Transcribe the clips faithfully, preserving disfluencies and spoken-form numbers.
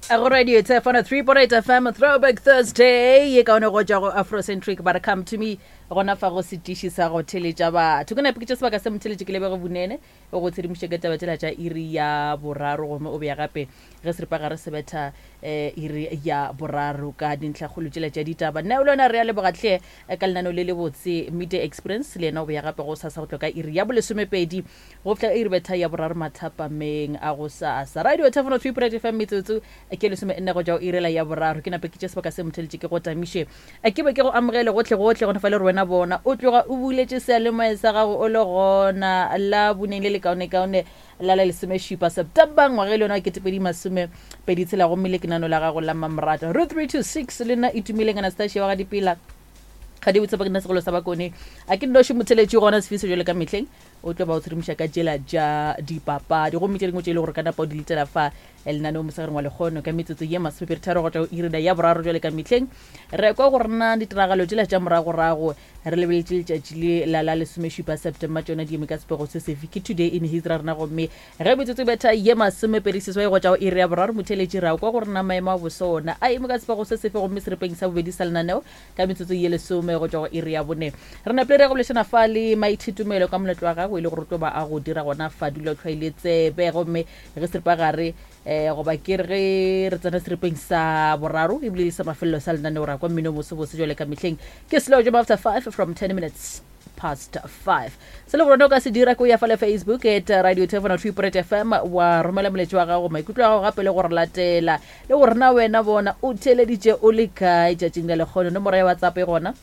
Go radio Tsefana three point eight F M, Throwback Thursday ye kaone go tšwa go Afrocentric, ba re "Come to Me" gona fa go setiši sa go theletša batho. Ke nape ke tše sebaka se motheletše ke lebege bonene o go tshedimoše ka taba tšela tša iri ya boraro, gomme o beya gape ge seripagare se betha um iri ya boraro ka dintlhakgolo tšela tša ditaba. Nna le yona re ya lebogatlhe eh, ka lenaneo le le botse Midday Experience, le yena o beya gape go sasa go tlo ka iri ya bolesomepedi go fihla iri betha ya boraro mathapameng a go sasa. Radio Thefano three point eight F M, metsotso ke lesome nne go tšwa go irela ya boraro. Ke nape ke tše sebaka se motheletše ke go tamiše, ke be ke go amogele gotlhe gotlhe gona fa le re wena bona o tloga o buletše seyalemoya sa gago o le gona la boneng le le kaonekaone la la lesomešupa September ngwaga e le yona wa ketepedi masome pedi tshela, gomme le kenano la gago la Mamorata ro three two six le nna Itumeleng Anastasia wa ga Dipela ga di botse ba ke nna segolo sa bakone a ke nnoši motheletši gona sefiso jale ka mehleng o tlo ba o tshedimoša ka tšela tša dipapadi, gomme tše dingwe tše e le gore ka napa o di letela fa lenaneo mosegareng wa lekgono ka metsotso ye masomepedi tharo go tšwa go irina ya boraro. Jale ka mehleng re kwa go rena ditiragalo tšela tša moragorago re lebeletše letšatši le la la lesomešupa September, tšona di eme ka sepego se sefe? Ke Today in History rena, gomme ge metsotso e betha ye masomepedi seswai go tšwa go iri ya boraro, motheletši ra kwa go rena maemo a bosona a eme ka sepego se sefe, gomme serepeng sa bobedi sa lenaneo ka metsotso ye lesome go tšwa go iri ya bone re napile re go bolešana fa le Maithitumelo ka moletlo wa gago e le gore o tlo ba a go dira gona fa dula tlhwaile tsebe. Gomme ge seripagare um goba ke re ge re tsena seripeng sa boraro ebile le sa mafelelo sa lenaneo ra kwa mmino mosebose jwale ka mehleng ke slow jam after five from ten minutes past five. Se le gore o ka se dira ke o ya fa le Facebook at Radio Tefano three point eight F M, wa romela moletši wa gago, maikutlo a gago, gape le gore latela le gore na wena bona o theleditše o le kae tšatšing la lekgono. Nomoro ya WhatsApp e gona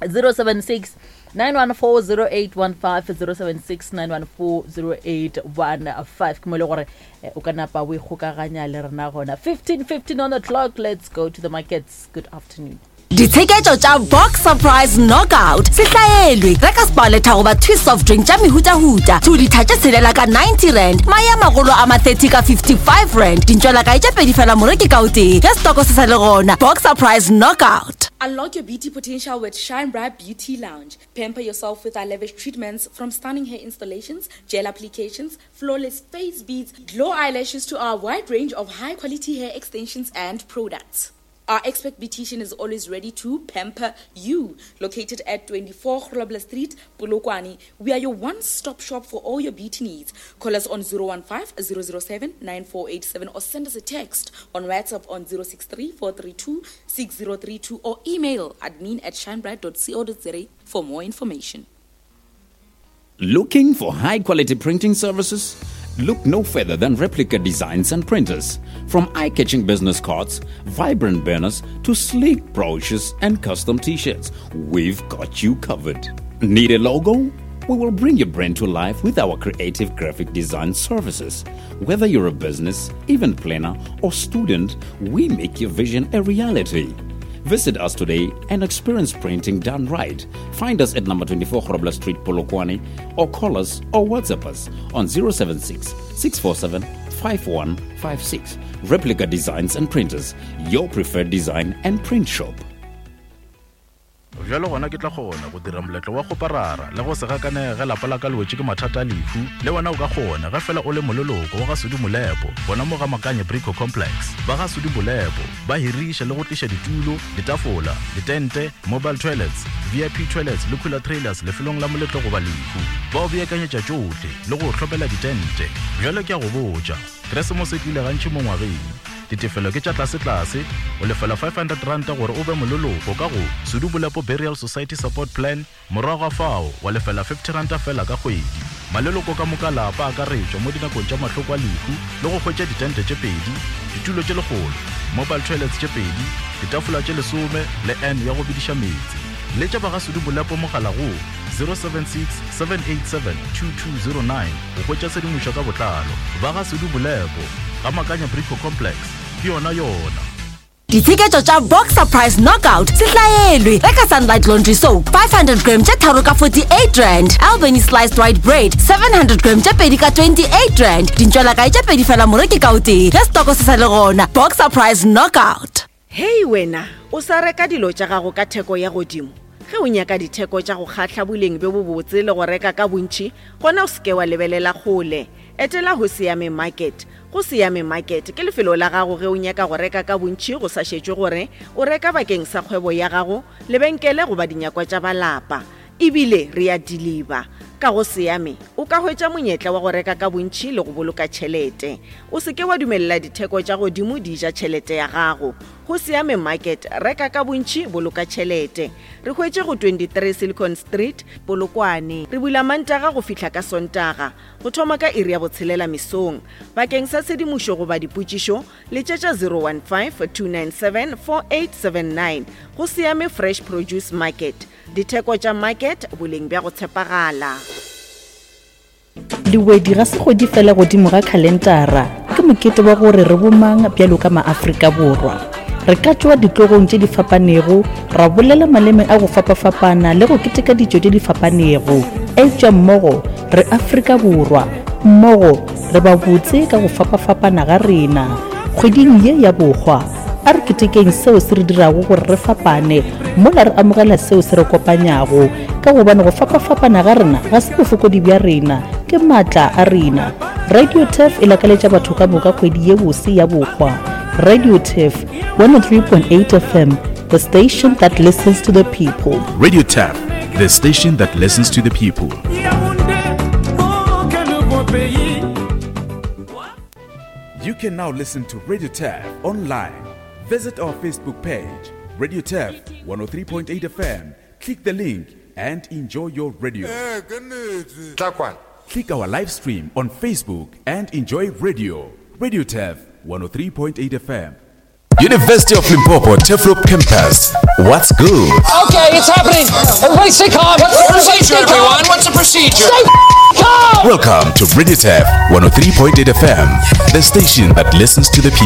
zero seven six nine one four zero eight one five, zero seven six nine one four zero eight one five, ke mo e le gore eh, o ka napa o ikgokaganya le rena gona. fifteen fifteen on the clock, let's go to the markets. Good afternoon. Ditsheketšo tša Boxer Price Knockout se hlaelwe. Reka Sparletta goba Twist soft drink tša mehutahuta two litha tše tshelela ka ninety rand, mae a magolo a ma thirty ka fifty-five rand, dintšwelakae tše pedi fela moreki ka o tee ge stoko se sa le gona. Boxer Price Knockout. Unlock your beauty potential with Shine Bright Beauty Lounge. Pamper yourself with our lavish treatments, from stunning hair installations, gel applications, flawless face beads, glow eyelashes to our wide range of high quality hair extensions and products. Our expert beautician is always ready to pamper you. Located at twenty-four Grobler Street, Polokwane, we are your one-stop shop for all your beauty needs. Call us on zero one five zero zero seven nine four eight seven or send us a text on WhatsApp on zero six three four three two six zero three two or email admin at shinebright dot co dot za for more information. Looking for high quality printing services? Look no further than Replica Designs and Printers. From eye catching business cards, vibrant banners, to sleek brochures and custom t shirts, we've got you covered. Need a logo? We will bring your brand to life with our creative graphic design services. Whether you're a business, event planner, or student, we make your vision a reality. Visit us today and experience printing done right. Find us at number twenty-four Grobler Street, Polokwane, or call us or WhatsApp us on zero seven six six four seven five one five six. Replica Designs and Printers, your preferred design and print shop. Bjalo gona ke tla kgona go dira moletlo wa kgoparara le go se gakanege lapa la ka le wetše ke mathata a lehu. Le wena o ka kgona ge fela o le moleloko wa ga Sudi Molepo gona mo ga Makanye Brico Complex. Ba ga Sudi Molepo ba hiriša le go tliša ditulo, ditafola, ditente, mobile toilets, V I P toilets le cooler trailers lefelong la moletlo goba lehu. Ba o beakanyetša tšohle le go o hlopela ditente. Bjalo ke a go botša, Keresemose e tlile gantši mo ngwageng. Ditefelo ke tša tlasetlase, o lefela five hundred ranta gore o be moleloko ka go Sudu Bolepo Burial Society Support Plan, morago ga fao wa lefela fifty ranta fela ka kgwedi. Maleloko ka moka lapa akaretšwa mo dinakong tša mahloko a lehu le go hwetša ditente tše pedi, ditulo tše lekgolo, mobile toilets tše pedi, ditafola tše lesome le n ya go bediša meetse. Letša ba ga Sudu Bolepo mogala go zero seven six seven eight seven two two zero nine go hwetša tshedimošo ka botlalo. Ba ga Sudu Bolepo ga Makanya Brico Complex ke yona yona. Ditsheketšo tša Boxer Price Knockout se hlaelwe. Reka Sunlight Laundry Soap five hundred gram tše tharo ka forty-eight rand, Albany Sliced White Bread seven hundred gram tše pedi ka twenty-eight rand, dintšwelakae tše pedi fela moreki ka o tee ge stoko se sa le gona. Boxer Price Knockout. Hei wena, o sa reka dilo tša gago ka theko ya godimo? Ge o nyaka ditheko tša go kgahla, boleng bjo bobotse le go reka ka bontši, gona o seke wa lebelela kgole. Etela Hosiame Market. Go Siame Market ke lefelo la gago ge o nyaka go reka ka bontši go sa šetšwe gore o reka bakeng sa kgwebo ya gago, lebenkele goba dinyakwa tša ba lapa. Ebile re a deliver. Ka go Siame o ka hwetša monyetla wa go reka ka bontši le go boloka tšhelete. O se ke wa dumelela ditheko tša godimo di ja tšhelete ya gago. Go Siame Market, reka ka bontši, boloka tšhelete. Re hwetše go twenty-three Silicon Street, Polokwane. Re bula Mantaga go fihla ka Sontaga, go thoma ka iri ya botshelela mesong. Bakeng sa tshedimošo goba dipotšišo, letšetša zero one five, two nine seven, four eight seven nine. Go Siame Fresh Produce Market. Ditheko tša market, boleng bja go tshepagala. Lewedi ga se kgwedi fela godimo ga khalentara, ke mokete wa gore re bomang bjalo ka maAfrika Borwa. Re ka tšwa ditlogong tše di fapanego, ra bolela maleme a go fapafapana le go keteka ditšo tše di fapanego. Eupša mmogo re Afrika Borwa, mmogo re ba botse ka go fapafapana ga rena. Kgweding ye ya bohwa, a re ketekeng seo se re dirago gore re fapane, mola re amogela seo se re kopanyago. Ka gobane go fapafapana ga rena ga se bofokodi bja rena, ke maatla a rena. Radio Turf e lakaletša batho ka moka kgwedi ye bose ya bohwa. Radio Turf, one oh three point eight F M, the station that listens to the people. Radio Turf, the station that listens to the people. You can now listen to Radio Turf online. Visit our Facebook page, Radio Turf one oh three point eight F M. Click the link and enjoy your radio. Click our live stream on Facebook and enjoy radio. Radio Turf one oh three point eight F M. University of Limpopo Turfloop Campus. What's good? Okay, it's happening. Everybody stay calm. What's the Everybody procedure, stay calm. everyone? What's the procedure? Stay calm. Welcome to Radio Turf one oh three point eight F M, the station that listens to the people.